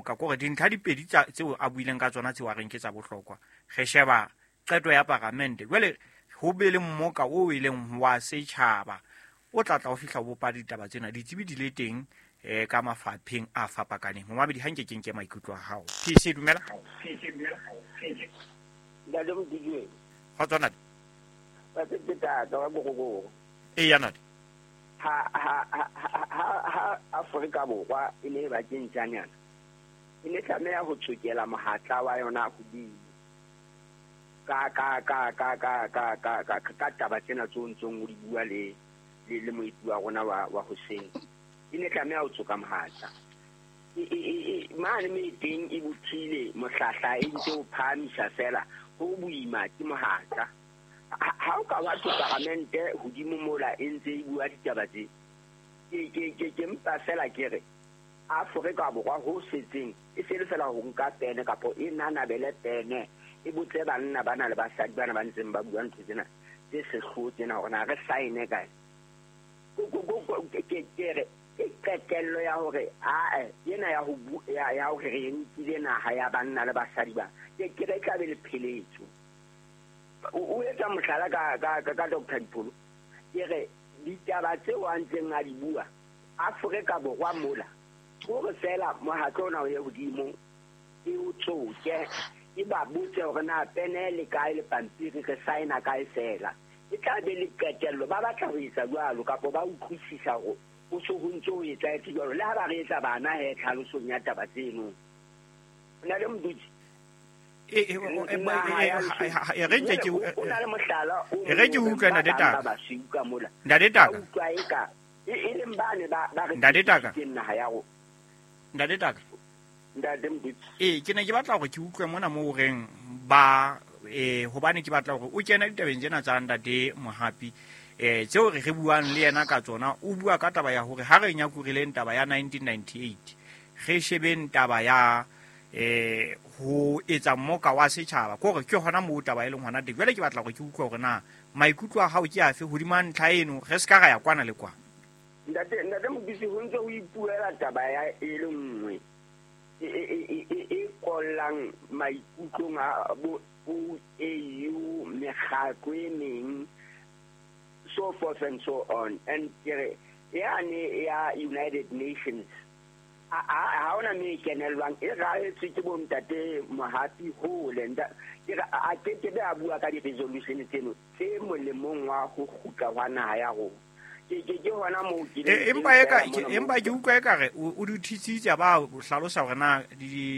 mmoka, kore dintlha di pedi tseo a buileng ka tsona tseo a reng ke tsa bohlokwa. Re sheba qeto ya paramente, jwale ho be le mmoka o e leng wa setjhaba o tla tla o fihla o bopa ditaba tsena, ditsebi di le teng ka mafapheng a fapakaneng. Momamedi, ha nke ke nke maikutlo a hao. PC, dumela. Ntate Modijwe. Kgotso ntate. Ba se ke tata wa Bogogoro. Eya ntate. Ha Afrika Borwa e ne e ba ke ntjanyana, e ne tlameha ho tsokela mohatla wa yona hodimo ka ka ka ka ka ka ka ka ka taba tsena tseo ntseng o di bua le le moeti wa rona wa hoseng. E ne tlameha ho tsoka mohatla. Mane me teng e bothile mohlahla e ntse o phahamisa fela, ho boima ke mohatla. Ha o ka wa tlo paramente hodimo mola e ntse e bua ditaba tse, ke mpa fela ke re Afrika Borwa ho setseng e se le fela ho nka pene kapo e nanabele pene e botse banna bana le basadi bana ba ntseng ba bua ntho tsena tse sehloho tsena hore na re saene kae. Ke re ke qetello ya hore ae ena ya ho ya hore re nkile naha ya banna le basadi ba, ke re tla be le pheletso. O etsa mohlala ka Dr. Dipholo, ke re ditaba tseo a ntseng a di bua Afrika Borwa mola, hore fela mohatlo ona o ye hodimo e o tsoke, e ba botse hore na pene le kae le pampiri, re saena kae fela. E tla be le qetello, ba batla ho etsa jwalo kapa ba utlwisisa hore ho so ho ntse ho etsahetse jwalo, le ha ba re etsa bana he tlhalosong ya taba tseno. O na le Modutsi? E na le mohlala o re ke utlwe ntate Taka. Ba basweu ka mola. Ntate Taka. Utlwa eka e leng bane ba re Ntate Taka. ke naha ya rona. Ntate Taka. Ntate Modutsi. Ke ne ke batla hore ke utlwe mona moo o reng ba hobane ke batla hore o kene ditabeng tsena tsa ntate Mohapi, tseo re buang le yena ka tsona. O bua ka taba ya hore ha re nyakurileng taba ya 1998, re shebeng taba ya ho etsa mmoka wa setjhaba, ke hore ke hona moo taba e leng hona teng. Jwale ke batla hore ke utlwe hore na maikutlo a hao ke afe hodima ntlha eno, re se ka ra ya kwana le kwana. Ntate Modutsi, ho ntse ho ipuela taba ya e le nngwe e kollang maikutlong a bo OAU, mekgatlo e meng, so forth and so on. And ke re yane ya United Nations ha ona me kenellwang, e raetswe ke bo ntate Mohapi hole. Ke re a ke ke be a bua ka di-resolution tseno tse molemong wa ho kgutla hwa naha ya rona. Ke hona moo ke leng Empa teng fela mona empa moo. ke utlwa ekare o di thisitse ba hlalosa hore na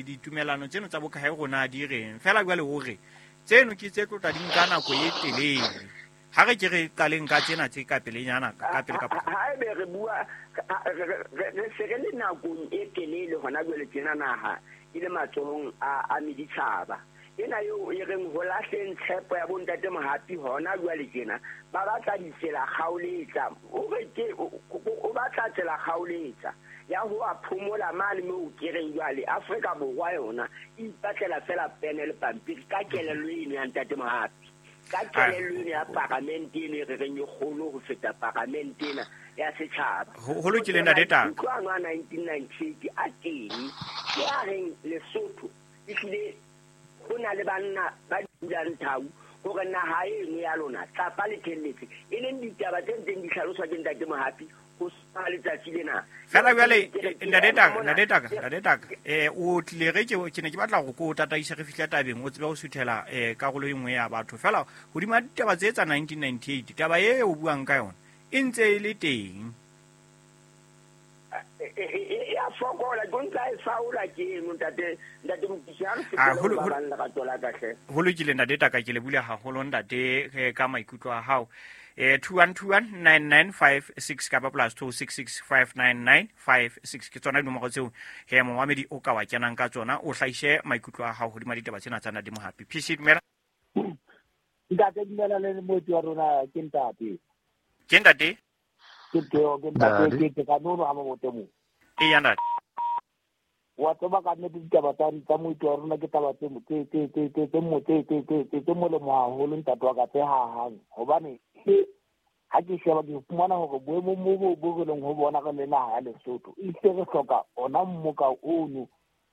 ditumelano tseno tsa bokae rona di reng. Fela jwale o re tseno ke tse tlotla di nka nako e telele. Ha re ke re qaleng ka tsena tse ka pelenyana, ka pele ka potlako. Ha ebe re bua, re se re le nakong e telele hona jwale tjena naha e le matsohong a meditjhaba. Ena eo e reng ho lahleng tshepo ya bontate Mohapi hona jwale tjena, ba batla ditsela kgaoletsa. O re ke, o batla tsela kgaoletsa ya ho a phomola mane moo ke reng jwale Afrika Borwa yona e ipatlela fela pene le pampiri ka kelello eno ya ntate Mohapi, ka kelello eno ya paramente eno e re reng e kgolo ho feta paramente ena ya setjhaba. Ho lokile ntate Taka. Maikutlo ano a 1998 a teng, ke a reng Lesotho ehlile ho na le banna ba dulang thau hore naha eno ya lona tlapa le thelletse, e leng ditaba tse ntseng di hlaloswa ke ntate Mohapi ho sa letsatsi lena. Fela jwale, Ke re, ke ntate ema Taka, mona. ntate Taka, ntate Taka, o tlile re ke ne ke batla hore ko tataise re fihle tabeng, o tsebe ho suthela karolo e nngwe ya batho. Fela hodima ditaba tse tsa 1998, taba e o buang ka yona e ntse e le teng. E a fokola, ke ntse a e faola ke eno, ntate Mokisi, ha re fetele ho ba bang lerato la ka hle. Ho lokile ntate Taka, ke le bule haholo ntate, ka maikutlo a hao. 21219956 kapa plus 26659956 ke tsona dinomoro tseo he momamedi o ka wa kenang ka tsona, o hlahise maikutlo a hao hodima ditaba tsena tsa ntate Mohapi. PC, dumela. Ntate, dumela le moeti wa rona, ke ntate. Ke ntate? Ke teo, ke ntate, Ntate. ke ka nono ha mabote mo. Eya, ntate. Wa tseba ka nnete ditaba tsa moeti wa rona ke taba tse mo-, tse, tse, tse, tse, tse mo-, tse, tse, tse, tse, tse molemo haholo ntate wa ka, tse hahang. Hobane ke ha ke sheba ke fumana hore boemong bo re leng ho bona re le naha ya Lesotho, ehlile re hloka ona mmoka ono